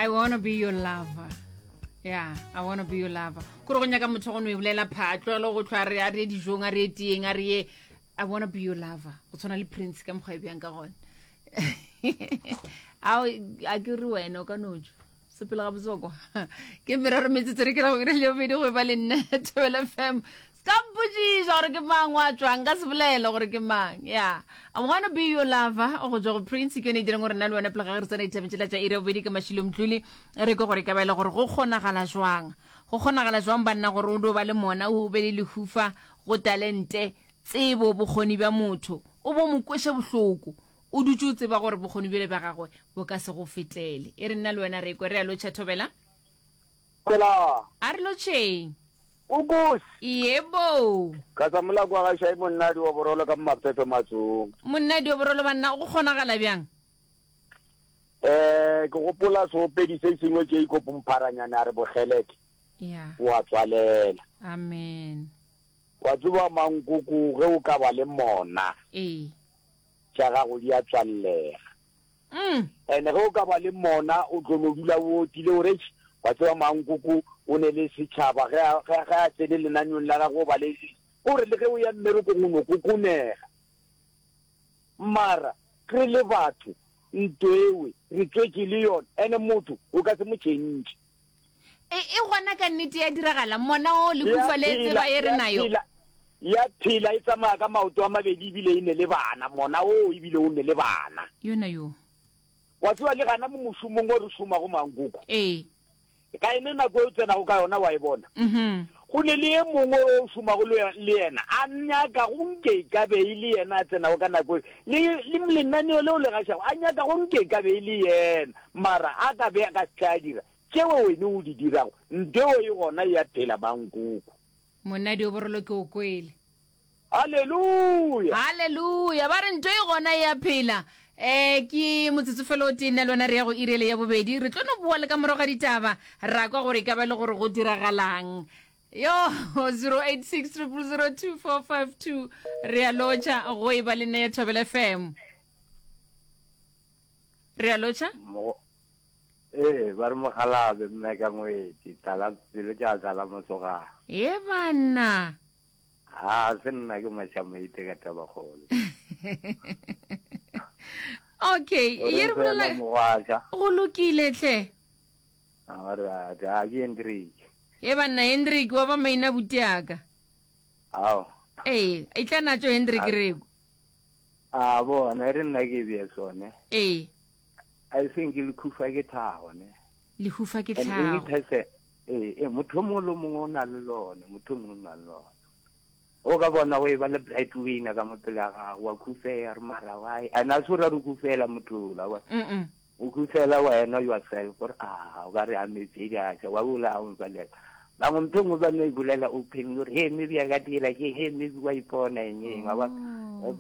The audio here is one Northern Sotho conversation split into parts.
I wanna be your lover. Yeah, I wanna be your lover. Kore go nyaka motho go no e bolela pha, tlogelo go tlhwa re a re dijong, a re tieng, a re ye. I wanna be your lover. Go tshwana le Prince ka mokgwa e bjang ka gona. Ao a ke re wena o ka no tšwa. Sepela ga botsoko. Ke merero metsotso re ke ra go ire le bobedi go ba le nna Thobela FM. Ska mpotšiša gore ke mang wa tšwang, nka se bolele gore ke mang. Ya. I wanna be your lover go tšwa go Prince ke yone e dirang gore nna le wena pele ga re tsena ditabeng tšela tša iri ya bobedi ka Mashilo Mdluli re kwe gore e ka ba e le gore go kgonagala jwang. Go kgonagala jwang banna gore o do ba le mona o be le lehufa go talente, tsebo, bokgoni bja motho o bo mo kweše bohloko o dutše o tseba gore bokgoni bjole bja gagwe bo ka se go fetele. E re nna le wena re kwe re a lotšha Thobela. Thobela. A re lotšheng. Ukus. Yebo. Ka sa molako wa ga Shai monna dioborolo ka Mmapepe Matsong. Monna dioborolo banna go kgonagala bjang? Eh ke gopola seopedi se sengwe Jacob Mpharanyane a re bogeleke. Yeah. O a tswalela. Amen. Wa tseba mankoko ge o ka ba le mona. Ee. Tša gago di a tswallega. Mm. And ge o ka ba le mona o tlo no dula o otile o re eish wa tseba mankoko o ne le setšhaba ge a ge a tsene lenaneong la gagwe o ba le o re le ge o ya mmerekong o no kokonega. Mara re le batho nto ewe re tswetše le yona and motho o ka se mo change. E, e gona ka nnete ya diragala mona o lehufa le tseba ye re nayo. Ya phela e tsamaya ka maoto a mabedi ebile e ne le bana, mona o ebile o ne le bana. Yona yo. Wa tseba le gana mo mošomong o re šomago Mankoko. Ee. Ka ene nako e o tsenago ka yona wa e bona. Mhm. Go ne le e mongwe o šomago le le yena a nyaka go nke e ka be e le yena a tsenago ka nako e le le lenaneo leo le gašago a nyaka go nke e ka be e le yena mara a ka be a ka se tle a dira tšeo wene o di dirago nteo e gona e a phela Mankoko. Monna Dioborolo ke o kwele. Haleluya! Haleluya! Ba re nto e gona e a phela. Eh, ke motsotso fela o tee nna le wena re ya go iri ele ya bobedi. Re tlo no boa le ka morago ga ditaba ra kwa gore e ka ba le gore go diragalang. Yo, 086 000 2452 re a lotšha go e ba le nna ya Thobela FM. Re a lotšha? Ee, ba re mokgalabje mme ka ngwetši, tlala pelo tša tlala mosogana. Ye banna. Ha se nna ke Mašamaite ka Tabakgolo. Okay, ye re bolela Mogwaša. Go lokile hle. A re a a ke Hendrik. Ye banna Hendrik wa ba maina buti aka. Ao. Ee, e tla natšo Hendrik reko. A bona e re nna ke bee sone. Ee. I think lehufa ke tlhago ne. Lehufa ke And any tlhago. person ee ee motho o mongwe le o mongwe o na le lone motho o mongwe o na le lone. O ka bona o e ba le bright winner ka mo pele ga gago wa khufea re mara why and a se o ra re khufela motho ola wa Mm-mm. o khufela wena yourself gore a o ka re a metse di a wa bola o mpalela bangwe ntho e nngwe ba no e bolela open gore he maybe a ka dira ke he maybe wa ipona eng eng wa bona Oh.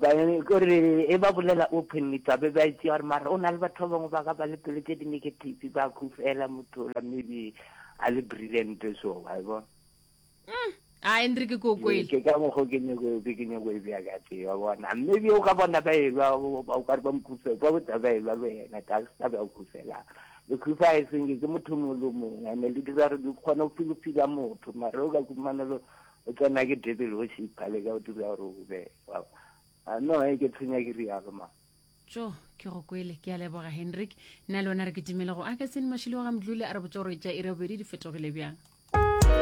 kore e ba bolela openly tsabe ba itse gore mara o na le batho ba bangwe ba ka ba le pelo tse di-negative ba khufela motho ola maybe a le brilliant so wa e bona Mm. A Hendrik ke o kwele. ke ka mokgo ke nyako ke nyako e bea ka tee wa bona maybe o ka bona ba elwa o ka re ba mokhufe ba botsa ba elwa le wena ta sa ba khufela lekhufa e seng ke motho mongwe le mongwe ene le dira re di kgona go filofila motho mara o ka kumana le o tsena ke devil worship le ka o dira gore o be wa no e ke tshwenya ke rialo ma tso ke go kwele ke a leboga henrik nna le wena re kitimele go akaseng mashilo wa ga mdlule a re botsa gore tša iri ya bobedi di fetogile bjang.